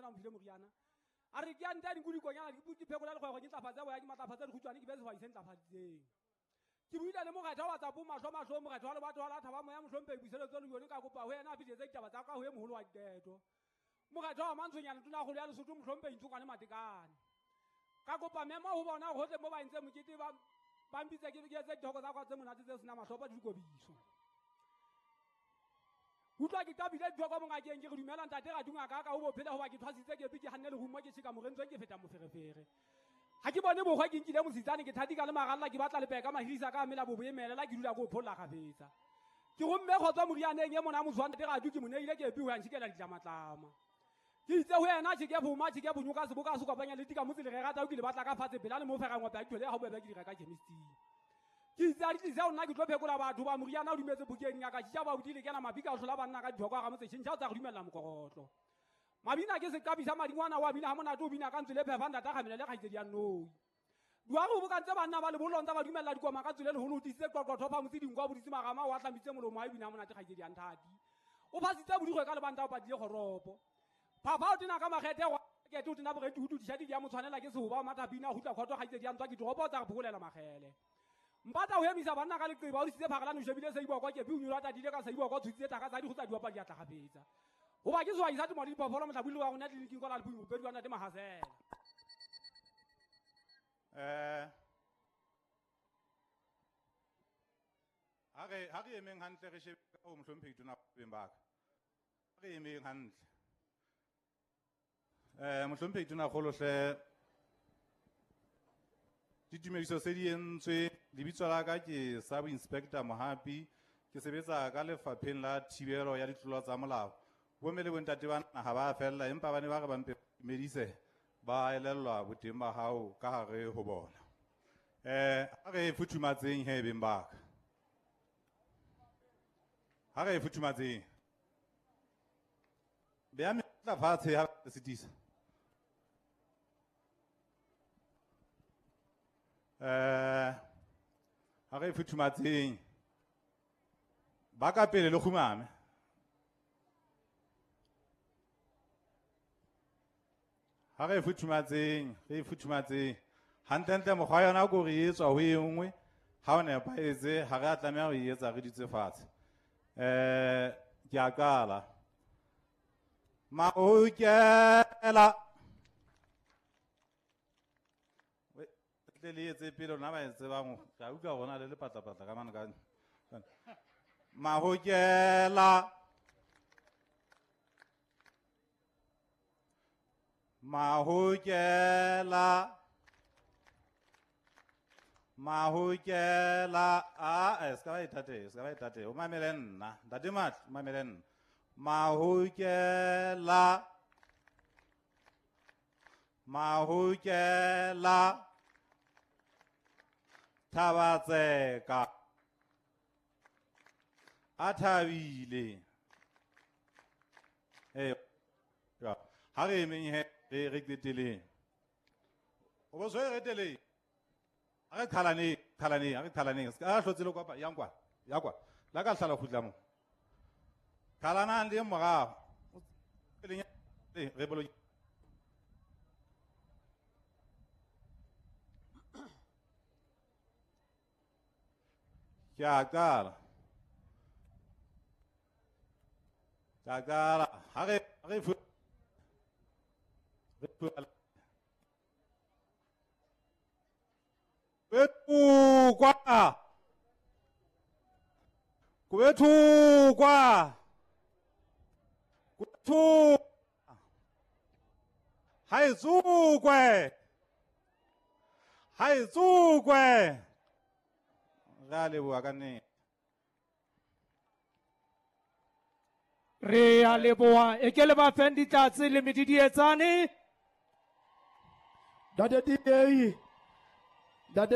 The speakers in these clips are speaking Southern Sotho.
motho a mphile moriana. A re ke a nta dinku dikonyana di phekola lekgwego ke ntlafatsa boya ke matlafatsa dikhutswane ke be sehwai se ntlafaditseng. Ke buile le mokgatho wa tsa bo mahlo mahlo mokgatho wa lebatho wa la thaba moya mohlomphehi Puseletso Leone ka kopa ho yena a fihletse ditaba tsa ka ho e moholo wa diqeto. Mokgatho wa Mantshonyane tonakgolo ya Lesotho mohlomphehi Ntsokwane Matekane. Ka kopa memo ho bona hohle mo ba entseng mokete ba mpitse ke etse dithoko tsa ka tse monate tse senang mahlopa di dikobiso. Utlwa ke qabile dithoko mongakeng ke re dumela ntate Radunga ka ka ho bophela hoba ke thwasitse ke ke hanne lerumo ke tjheka morentswe ke feta moferefere. Ha ke bone bokgwa ke nkile mositsane ke thatika le maralla ke batla lepeka mahirisa ka mela bo boemelela ke dula ko pholla kgafetsa. Ke romme kgotsa morianeng e mona motho wa ntate Radu ke mo neile ke epi ho ya ntjhikela ditlamatlama. Ke itse ho yena tjhe ke boma tjhe ke bonyoka seboka se kopanya le tika motse le re rata o ke le batla ka fatshe pela le mo fera ngope a dithole ha bobebe ke di reka chemisting. Ke itse a di tlise ho nna ke tlo phekola batho ba moriana o dumetse bukeng ya ka tjha ba udile kena mabika o hlola banna ka dithoko ga motse tjhentjha o tsa re dumella mokorotlo. Mabina ke seqabi sa madingwana wa bina ha monate o bina ka ntswe le phefa ntata kgamela le kgaitsedi ya Nnoi. Duare o bokantse banna ba lebollong tsa ba dumella dikoma ka tswele leholo o tisitse qoqotho fa motse dinkwa boditse marama o ahlamitse molomo wa e bina ha monate kgaitsedi ya Nthati. O phasitse bodirwe ka lebanta o patile kgoropo. Phapha o tena ka makgethe wa kete o tena boreti ho dudisha di ya motshwanela ke sehoba mathapina ho tla khotho kgaitsedi ya ntswa ke doropo tsa re phokolela makgele. Mpata ho emisa banna ka leqeba o disitse phakalane o shebile seiboko ke bi o nyolwa tadile ka seiboko tshutse thaka tsa di go tsa diwa pa di atla gafetsa. Hoba ke sehwai sa temo le diphoofolo mohlabuli wa rona tleliniking kwa la Lepung mopedi wa ntate Mahasela. Ha re emeng hantle re shebe ka ho mohlomphehi tona beng ba ka. Ha re emeng hantle. Mohlomphehi tona kgolo hle ditumediso se di entswe lebitso la ka ke Sub Inspector Mohapi ke sebetsa ka lefapheng la thibelo ya ditlolo tsa molao. Bomme le bontate ba naha ba fella empa ba ne ba re ba mpe medise ba elellwa boteng ba hao ka hare ho bona. Ha re futhumatseng he beng ba ka. Ha re futhumatseng. Beya metla fatshe ha re sitisa. Ha re futhumatseng. Ba ka pele le kgumame. Ha re futhumatseng, re futhumatseng. Hantlentle mokgwa yona ko re etswa ho e nngwe, ha o nepahetse, ha re a tlameha ho e etsa re dutse fatshe. Ke a qala. Mahokela. Tle le etse pele rona ba e tsebang, ke a utlwa hore ho na le lepatlapatla ka mane ka. Mahokela. Mahokela. Mahokela. A se ka ba ithatela, se ka ba ithatela. O mamele nna. Ntate Matlo, o mamele nna. Mahokela. Mahokela. Thabatseka. A thabile. Ha re emeng he re qeteleng. O bo tshwere re Ha re qhalaneng, qhalaneng, ha re qhalaneng. Se ka hlotse le kopa, yang kwa, ya kwa. La ka hlala kgutla mo. Qhalanang le morao. Re bolo. Ke a qala. Ke a qala. Ha re Kwethukwa. Kwethukwa. Kwethu. Ha e tsukwe. Ha e tsukwe. Re a leboha ka nnete. Re a leboha. E ke le ba feng ditlatse le medidietsane. Ntate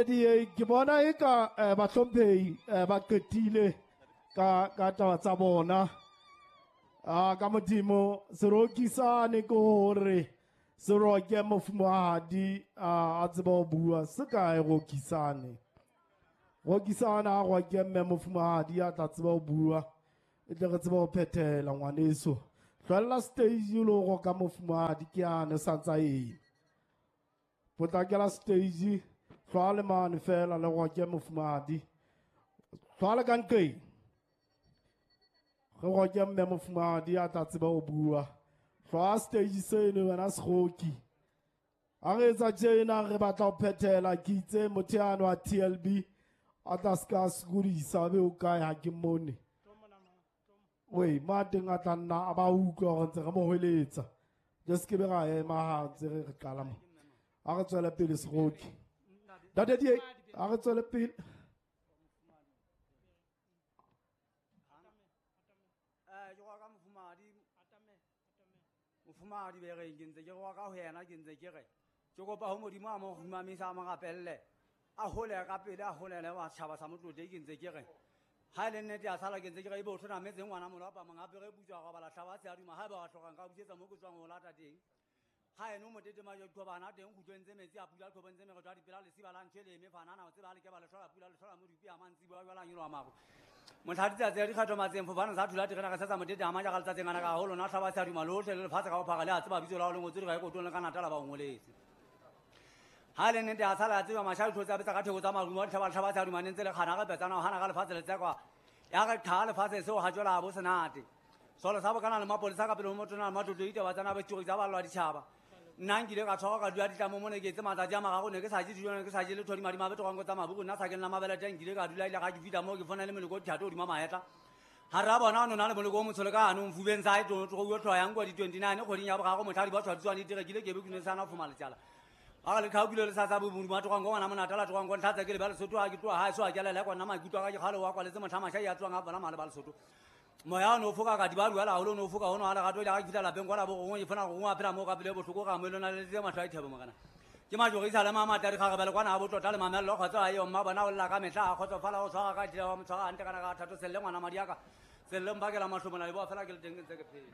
DA, ke bona eka bahlomphehi ba qetile ka taba tsa bona. Ka Modimo serokisane ke hore se roke mofumahadi a tseba ho bua se kae rokisane. Rokisane a roke mme mofumahadi a tla tseba ho bua e tle re tsebe ho phethela ngwaneso. Tlwella stage o lo roka mofumahadi ke yane sa ntsa eme. Potlakela stage, hlwa le mane fela le roke mofumahadi. Hlwa le ka nqeng. Re roke mme mofumahadi a tla tseba ho bua. Hlwa stage seno wena seroki. Ha re etsa tjena re batla ho phethela ke itse motho yane wa TLB a tla se ka sokodisa be o kae ha ke mmone. Wei, ma teng a tla nna a ba utlwa hore ntse re mo hweletsa. Je se ke be ra ema ha ntse re qala mo. Ha re tswele pele seroki. Ntate Die, ha re tswele pele. Ke roka mofumahadi. Mofumahadi be reng ke ntse ke roka ho yena ke ntse ke re. Ke kopa ho Modimo a mo humamisa a mo rapelle. A hole ka pele a holele wa tjhaba sa Motlotlegi ke ntse ke re. Ha e le nnete ya sala ke ntse ke re ebe o tlhonametse ngwana molapa mang hape re butswa robala hlaba se a duma ha eba wa hlokang ka busetsa mo ke tswang ho lata teng. Ha eno motete ma jo bana teng kgutlong tse metsi a pula tlhobong tse meretwa dipela lesiba la ntho e le eme fanana o tseba le ke ba le hlola pula le hlola modupi a mantsi bua jwala nyolo wa maro. Mohla ditsatsi ya dikgatho matseng fofane sa thula terena re setsa motete a maja ka letsatsing ana ka haholo na hlaba se a duma lohle le lefatshe ka bophara le a tseba bitso la ho le ngotswe dikotong le ka Natala ba o ngoletse. Ha le nnete a sala a tseba masha ditho tsa betsa ka theko tsa marumo ditlhaba tlhaba tsa duma ntse le kgana re petsana ho hana ka lefatshe le tsekwa. Ya re qha lefatshe seo ha jwala bo senate. Solo sa bokana le mapolesa ka pele ho motho na matlotlo ditaba tsana ba tshuri tsa ballwa ditjhaba. Nna nkile ka tshwarwa ka dula ditlamo mone ke etse matsatsi a mararo ne ke sa je dijo ne ke sa je letho di madi mabe tokango tsa mabuku nna sa ke nna mabele teng nkile ka dula ile ga ke fihla moo ke fona le meloko dithato hodima mahetla. Ha ra bona no na le moloko o motsho le ka hanong fubeng sa e tlo tlo tlo yang kwa di 29 kgweding ya boraro motlhadi ba tshwaditswa di direkile ke be ke ne sana fuma letsala. Ba le khaukile le sa sa bo modimo a tlogang ngwana monatala tlogang go ntlha tsa ke le ba Lesotho ha ke tloha ha so a ke lele kwa nna maikutlo a ka ke kgale wa kwaletse motlha masha ya tswang a bona male ba Lesotho. Moya o no foka ka di ba duela haholo o no foka hono ha lerato ile ga ke fihla lapeng kwa la bo gongwe ke fona gongwe a phela moo ka pele bohloko ka mo lona le tse mahlo a dithebo morena. Ke majorisa le mamatla dikgarebele kwana ha botlotla le mamello kgotsa a eo mma bona o lla ka mehla a kgotsofala o tshwara ka dila wa mo tshwara hantle kana ka thato selle ngwana madi a ka selle mpakela mahlomola le boa fela ke le teng ke ntse ke phela.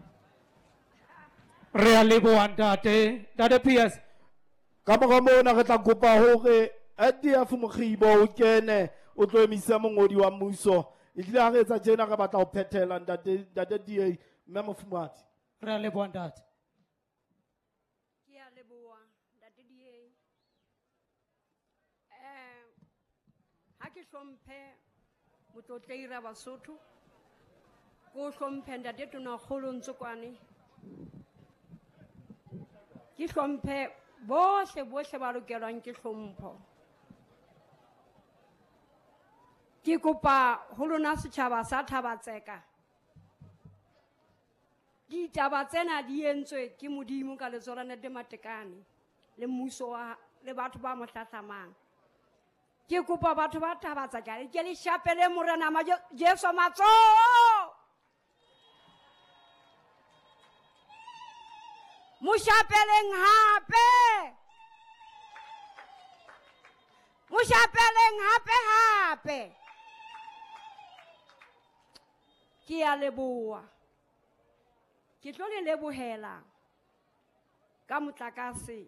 Re a leboha ntate. Ntate PS. Ka mora mona re tla kopa hore ADF Mokgibo o kene o tlo emisa mongodi wa mmuso. Ehlile ha re etsa tjena re batla ho phethela ntate ntate DA mme mofumahadi. Re a leboha ntate. Ke a leboha ntate DA. Ha ke hlomphe motlotlegi ra Basotho, ko hlomphe ntate Tonakgolo Ntsokwane. Ke hlomphe bohle bohle ba lokelwang ke hlompho. Ke kopa ho lona setjhaba sa Thabatseka. Ditaba tsena di entswe ke Modimo ka letsoho la Ntate Matekane le mmuso wa le batho ba mo hlahlamang. Ke kopa batho ba Thabatseka ke le shapele Morena Jesu matsoho. Mo shapeleng hape. Mo shapeleng hape hape. Ke a leboha. Ke tlo le lebohela ka motlakase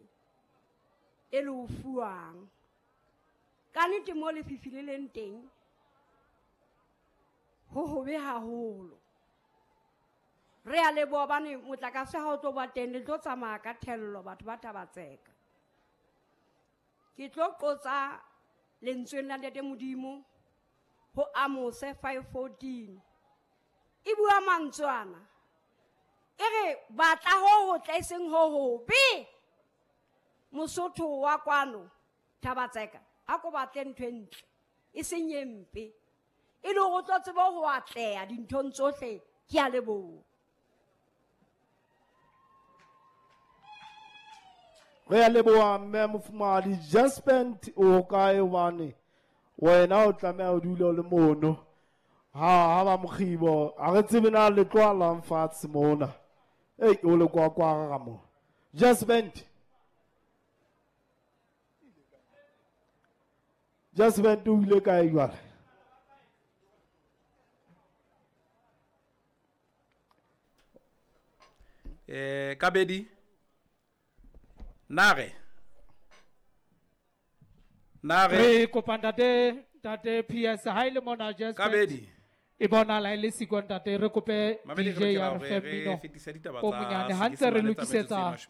e le o fuwang. Ka nnete mo lefifi le leng teng ho hobe haholo. Re a leboha hobane motlakase ha o tlo ba teng le tlo tsamaya ka thello batho ba Thabatseka. Ke tlo qotsa lentsweng la Ntate Modimo ho Amose 5:14. E bua mantswe ana. E re batla ho hotle e seng ho hobe. Mosotho wa kwano Thabatseka a ko batle ntho e ntle e seng e mpe. E le hore o tlo tsebe ho atleha dinthong tsohle. Ke a leboha. Re a leboha mme mofumahadi Jaspent o kae hobane wena o tlameha o dule o le mono. Ha ba Mokgibo ha re tsebe na le tloalang fatshe mona. Ei o le kwa kwa ga mo. Jaspent. Jaspent o ile kae jwale? Kabedi Nare. Nare. Re kopa ntate ntate PS ha ile mona Jaspent. Kabedi. E bonahala e le siko ntate, re kope Mamedi, DJ re ya lokela re fe hore re mmino fetise ditaba o tsa monyane ha ntse re Senyesemane tsa metsotso e lokisetsa 35.